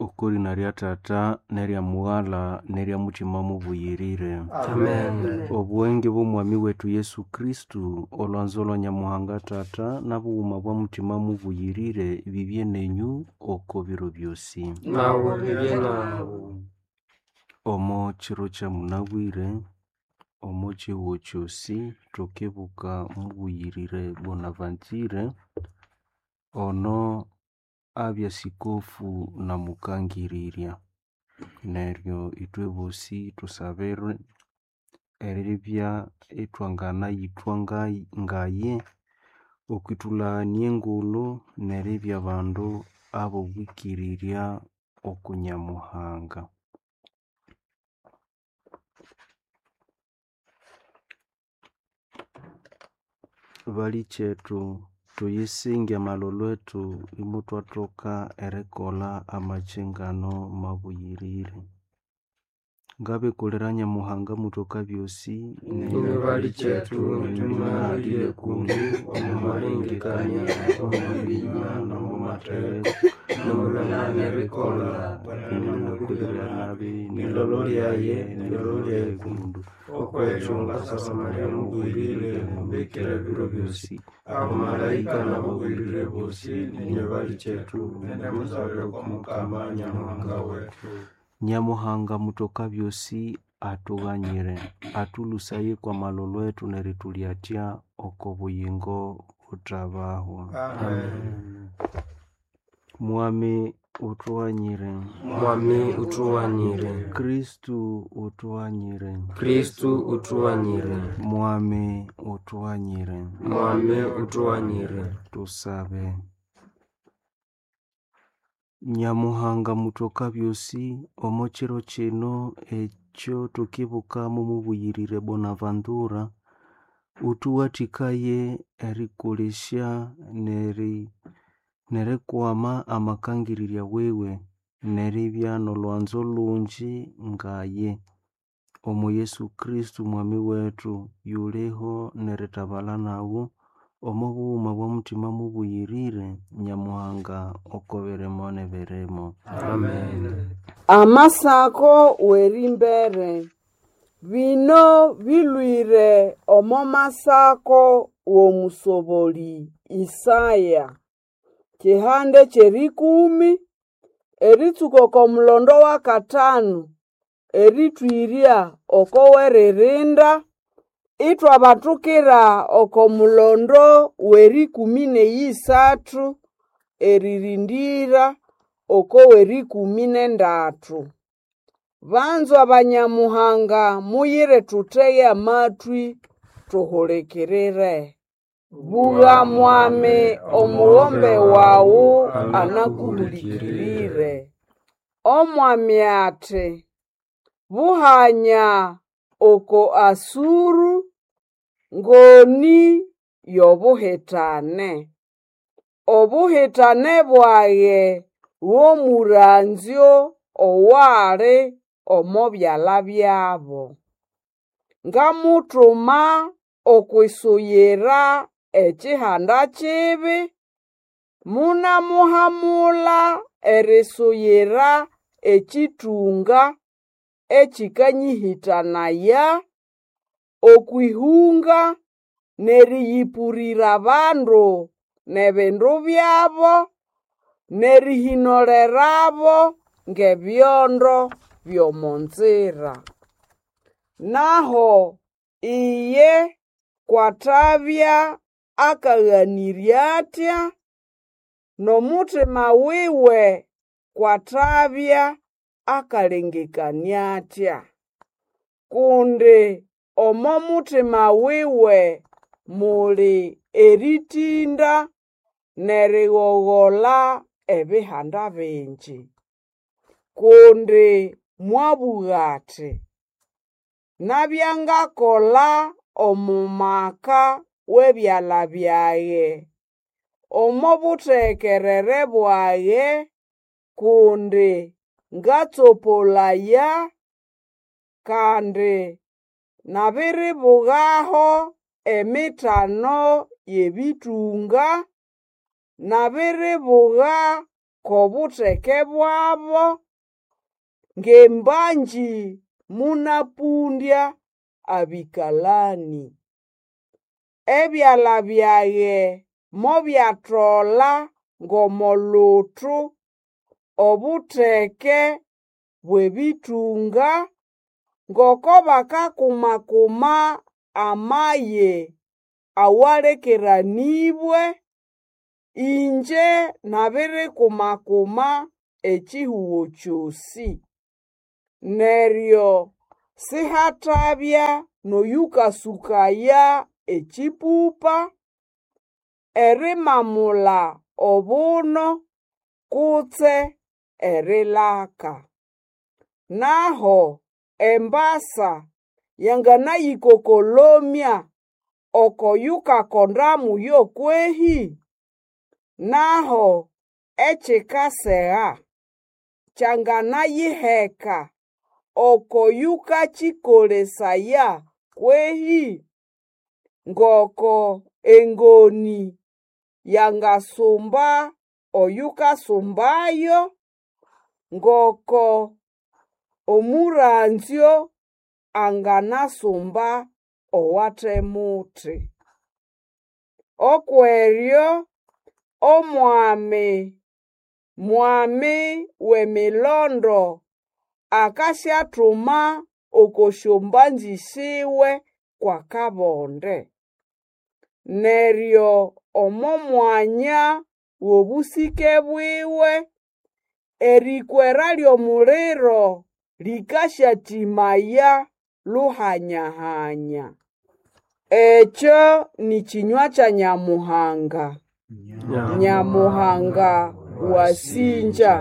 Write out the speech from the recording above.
Okw'erina lya Tata n'erya Mughala n'erya Mutima Mubuyirire. Amen. Obuwenge bw'Omwami wetu Yesu Kristu, olwanzo lwa Nyamuhanga Tata, n'obughuma bwa Mutima Mubuyirire bibye nenyu oko biro byosi. Nawe bibye nawe. Omo kiro kya munabwire, omo kihugho kyosi thukibuka mubuyirire Bonaventure, ono abya sikofu na mukangirirya. Neryo ithwe bosi thusabirwe eribya ithwanganayithwa ngaye okwithulhania engulhu neribya bandu ab'obwikirirya oku Nyamuhanga. Balikyethu thuyisinge amalholho ethu imuthwathoka erikolha amakyingano mabuyirire. Ngabikulira Nyamuhanga muthoka byosi Inywe balikyethu nithumalire kundu omu malengekania, omu binywa n'omu matheko, n'omulwanana erikolha ninakulira nabi nilolo lyaye nilolo lyaye kundu. Okwekyo ngasaba Maria mugwirire mubikira ebiro byosi, abamalaika n'abagwirire bosi, ninywe balikyethu nenemusabire kwa Mukama Nyamuhanga wethu. Nyamuhanga muthoka byosi athughanyire, athulhusaye kw'amalholho ethu nerithulyatya oko buyingo buthabahwa. Amen. Mwami uthughanyire. Mwami uthughanyire. Kristu uthughanyire. Kristu uthughanyire. Mwami uthughanyire. Mwami uthughanyire. Tusabe. Nyamuhanga muthoka byosi, omo kiro kino ekyo thukibukamu mubuyirire Bonaventura, uthuwathikaye erikolesya nerikwama amakangirirya wiwe, neribya n'olwanzo lungi ngaye. Omo Yesu Kristu Mwami wethu, yuliho nerithabalha nawu, omo bughuma bwa Mutima Mubuyirire, Nyamuhanga oko birimo n'ebirimo. Amen. Amasako w'erimbere. Bino bilwire omo masako w'omusoboli Isaya. Kihande ky'erikumi, eritsuka oko mulondo w'akatanu, erithwirya oko w'eririnda, ithwabathukira oko mulondo w'erikumi n'eyisathu, eririndira oko w'erikumi n'endathu. Banzwa Banyamuhanga muyire thuthege amathwi thuhulikirire. Bugha Mwami omughombe wawu anakuhulikirire. Omwami athi, buhanya oko Asuru ngoni y'obuhitane. Obuhitane bwage bw'omuranzyo owali omo byalha byabo. Ngamuthuma okwisuyira ekihanda kibi, munamuhamula erisuyira ekithunga ekikanyĩhĩtanaya, okw'ihunga n'eriyĩpũrĩra abandu n'ebindu byabo, n'erihinolerabo ng'ebyondo by'omo nzira. Naho iye kwathabya akaghanĩrya atya, n'omuthima wiwe kwathabya akalengekania atya. Kundi omo muthima wiwe muli erĩtĩnda n'erighogolha ebihanda bingi. Kundi mwabũga athi, nabya ngakola omo maka w'ebyalha byage, omo buthekerere bwage, kundi ngatsopolaya, kandi nabiribugaho emithano y'ebĩtũnga, nabiribuga k'obutheke bwabo, ng'embanji mũnapũndya abĩkalani. Ebyala byage mobyatolha ng'omo luthu obutheke bw'ebĩtũnga, ngoko bakakuma-kuma amaye awalekeranĩbwe. Ingye nabirikuma-kuma ekihugo kyosĩ. Neryo sihatabya n'oyũkasũkaya ekĩpũpa, erimamula obuno, kutse erilaka. Naho embasa yanganayĩkokolomya oko yukakonda muyo kwehĩ? Naho ekikasega kyanganayiheka oko yũkakĩkolesaya kwehĩ? Ngoko engonĩ yangasumba oyukasumbayo, ngoko omũranzyo anganasumba owate muti. Okweryo Omwami Mwami w'emilondo akasyathuma oko syombanzĩ siwe kw'akabonde. Neryo omo mwanya w'obũsĩke bwiwe, erĩkwera ly'omuliro lĩkasyatĩmaya luhanya-hanya. Ekyo nĩ kĩnywa kya Nyamuhanga. Nyamuhanga wasĩngya.